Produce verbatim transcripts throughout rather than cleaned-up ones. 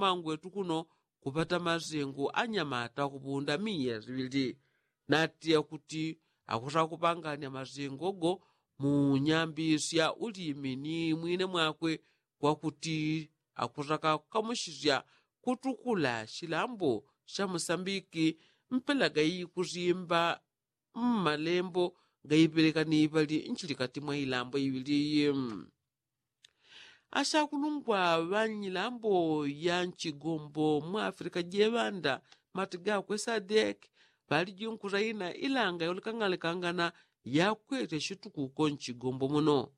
mangwetu kuno kupata mazengo anyamata kupunda miya ziŵili. Natiya kuti akusakupanganya mazengo go mu nyambi sya ulimi ni mwine mwakwe kwakuti akusakakukamusisya kutukula silambo sya musambiki mpela gaikusimba mmalembo gaipelekani pali nchilikati mwa ilambo iŵili iyi. Asakulungwa ŵa nyilambo ya nchigombo mwa afilika jeŵanda mati gakwe sadek ŵaliji nkusaina ilanga yaulekang'alekangana yakwete situkuko nchigombo muno.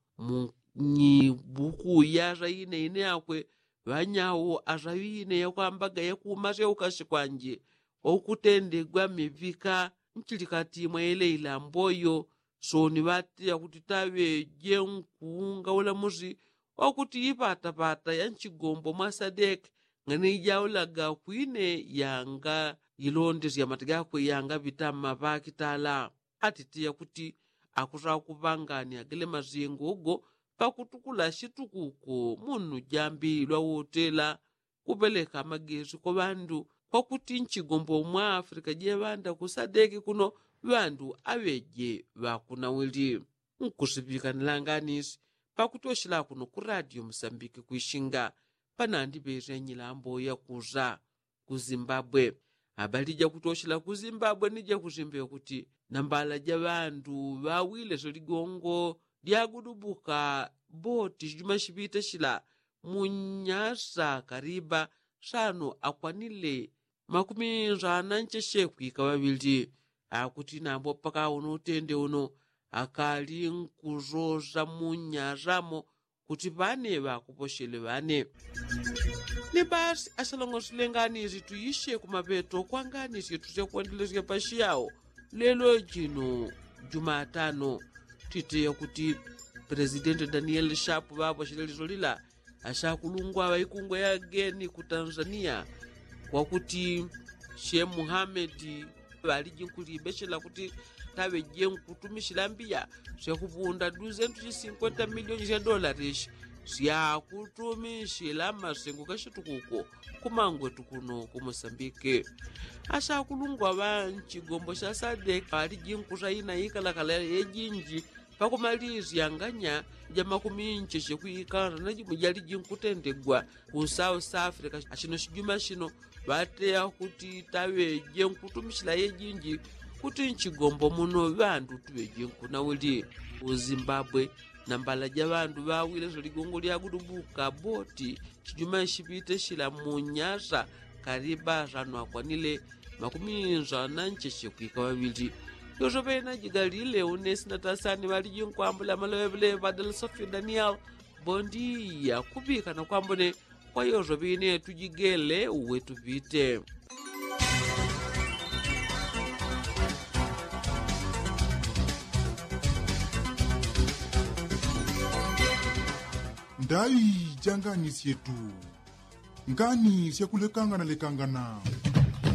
Munyibuku yasaine ine yakwe ŵanyawo asaŵine yakwambaga yakumasya ukasi kwanje okutendegwa miŵika nchilikati mwa ile ilambo iyo. Soni ŵatila kuti taŵeje nkuunga ulamusi wakuti ipatapata ya nchigombo mwa sadek ng'ane ijaulaga kwine yanga ilondesya mati gakwe yangaŵita mmaŵakitala. Atitiya kuti akusakupanganya gele mazengo go pakutukula situkuko munu jambi lwa wotela kupeleka magesi kwa ŵandu kwakuti nchigombo mwa afilika jeŵanda kusadeki kuno ŵandu aŵeje ŵakunawili. Nkusiŵikanila nganisi pakutoshela kuno ku radio musambiki kwishinga panandiŵesya nyilambo yakusa ku zimbabwe. Abalija kutoshela ku zimbabwe ni jakusimbe kuti nambala ja ŵandu ŵawile syo ligongo lyagudubuka boti shijuma shiŵite shila mu nyasa kariba sano akwanile makumi nsana ncheche kwika ŵaŵili. Akuti nambo paka uno utende uno akali nkusosa mu nyasamo kuti ŵane ŵakuposhele ŵane. Ni basi asalongosile nganisi tuishe kumapeto kwa nganisi yetu syakwendelesya pashiyao lelo jino jumatano. Titeya kuti presidenti danieli shapu ŵaposhele liso lila asakulungwa ŵaikungwe yageni ku tanzania kwakuti she muhamedi ŵaliji nkulibeshela kuti taŵeje nkutumishila mbiya syakupunda duzentu sya sinkwenta milioni sya dolarishi syakutumishila mmasengo kashitukuko kumangwetu kuno ku mosambike. Asakulungwa ŵa nchigombo sya sadek ŵaliji nkusaina ikalakala yejinji pakumalisyanganya ja makumi ncheche kwi ikanda na jimwe jaliji nkutendegwa ku south africa. Ashino shijuma shino ŵateya kuti taŵeje nkutumishila yejinji kuti nchigombo muno ŵandu tuŵeje nkunawili. Ku zimbabwe nambala ja ŵandu ŵawile syo ligongo lyagudubuka boti shijuma shiŵite shila mu nyasa kaliba sano akwanile makumi nsana ncheche kwika ŵaŵili. Yoso ŵena jigalile unesi na tasani ŵaliji nkwambula maloŵeloŵe ŵadala sofio daniel. Bondiya kuŵika na kwambone kwa yoso ŵine tujigele uwe tuŵite. Ndaŵi ja ngani syetu. Ngani syakulekangana lekangana.